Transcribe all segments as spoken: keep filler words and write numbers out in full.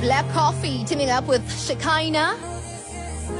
Black Coffee teaming up with Shekinah.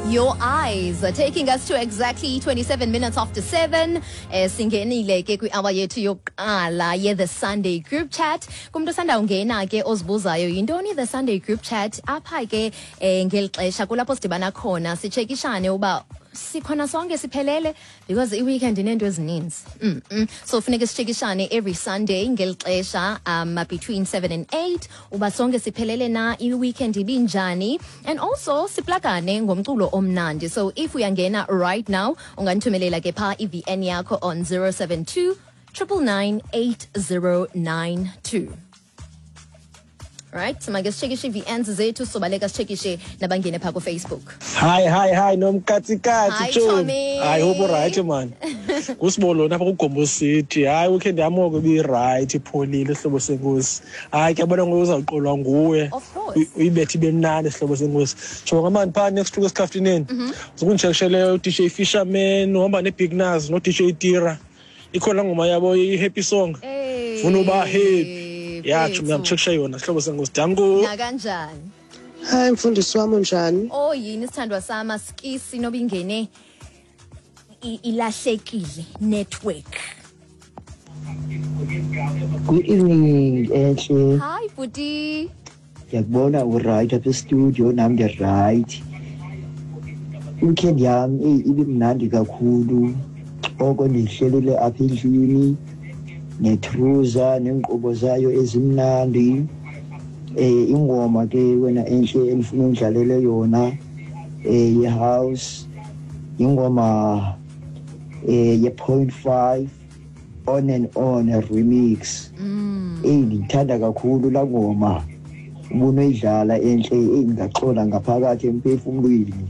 Your Eyes are taking us to exactly twenty-seven minutes after seven. Eh, singenile ke kwi-hour yethu yokuqala ye-The Sunday Group Chat. Kumntu osanda ungena ke ozibuzayo yintoni The Sunday Group Chat, apha ke eh, ngeli xesha kulapho sidibana khona sitshekishane uba sikhona sonke siphelele, because i-weekend ineento ezininzi. mm -mm. So funeke sitshekishane every Sunday ngeli xesha um between seven and eight uba sonke siphelele na, i-weekend ibinjani, and also siplakane ngomculo omnandi. So if uyangena right now, ungandithumelela ke phaa i-V N yakho on zero seven two nine nine nine eight zero nine two. Right, make sitshekishe ii-V Ns zethu, sobaleka sitshekishe nabangene phaa kuFacebook. Hi, hi, hi, nomkatsikatsi. Hi, Tshomi. Tommy. Hayi, hope uright man. Ngusibolo napha kuGombo City. Hayi, weekend yam oko ibiright, ipholile, sihlobo senkosi. Hayi, kuyabona ngoku uzawuqolwa nguwe. Of course. Uy- Uyibethe ibe mnandi, sihlobo senkosi. Jonga mani phaa next week esikhaftineni. Zokunditshekishele u-D J Fisherman, uhamba ne-Big Naz no-D J Tira. Ikhona laa ngoma yabo i-happy song. Hey, Funa uba happy. Ya, tshomi, mfethu. Ndiyamtshekisha yona, sihlobo senkosi. Danko. Nakanjani. Hayi, mfundisi wami, unjani? Oh yini, sithandwa sama skisi noba ingene i- ilahlekile network. Good evening, Enhle. Hi, bhuti. Ngiyakubona uright apha e-studio, nami ngi-right. Weekend yami eyi ibimnandi kakhulu. Oko ndihlelile apha endlini netruza neenkqubo zayo ezimnandi. Eh ingoma ke wena enhle endifuna undlalele yona eh ye-house, ingoma eh ye-point five, On and On remix. Eyi, ngithanda kakhulu laa ngoma. Ubunoyidlala enhle, eyi, ngaxola ngaphakathi emphefumlweni.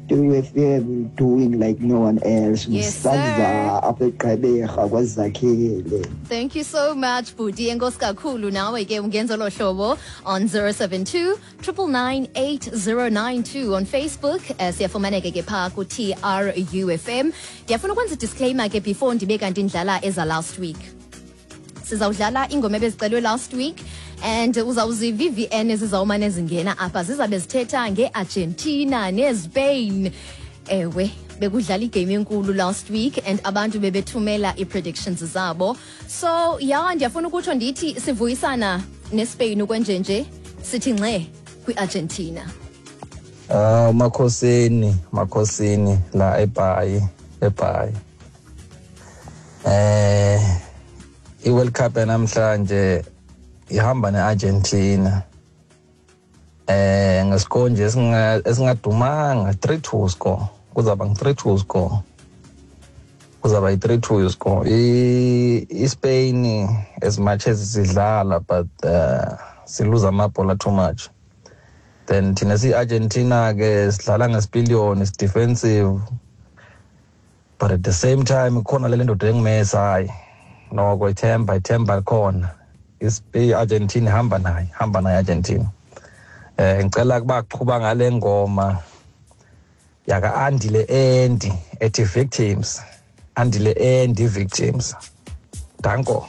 T R U F M doing like no one else. Yes, sir. Msanza apha eGqeberha kwaZakhele. Thank you so much, bhuti. Enkosi kakhulu. Nawe ke ungenza lo hlobo on zero seven two nine nine nine eight zero nine two. On Facebook eh, siyafumaneka ke phaa ku-T R U F M. Ndiyafuna ukwenza disclaimer ke before ndibe kanti ndidlala eza last week. Sizawudlala ingoma ebezicelwe last week and uzawuziva ii-V N ezizawumane zingena apha zizabe zithetha ngeArgentina neSpain. Ewe, bekudlala igame enkulu last week and abantu bebethumela ii-predictions zabo. So ya, ndiyafuna ukutsho ndithi sivuyisana neSpain ukwenjenje, sithi ngxe kwiArgentina. Ah, Makhosini, Makhosini la eBhayi, eBhayi. Eh iWorld Cup namhlanje ihamba neArgentina. Eh ngescore nje esinga esingadumanga three two score. Kuzaba ngi three two score. Kuzaba i three two score. I iSpain as much as sidlala, but uh, siluza amabhola too much. Then thina si-Argentina ke sidlala ngesipiliyoni, defensive, but at the same time khona le ndoda enguMessi. Hayi noko, ithemba ithemba likhona. I-Argentina ihamba naye, hamba naye Argentina. Eh ngicela kubaqhuba ngale ngoma yaka Andile Endi ethi Victims, Andile Endi, Victims. Danko.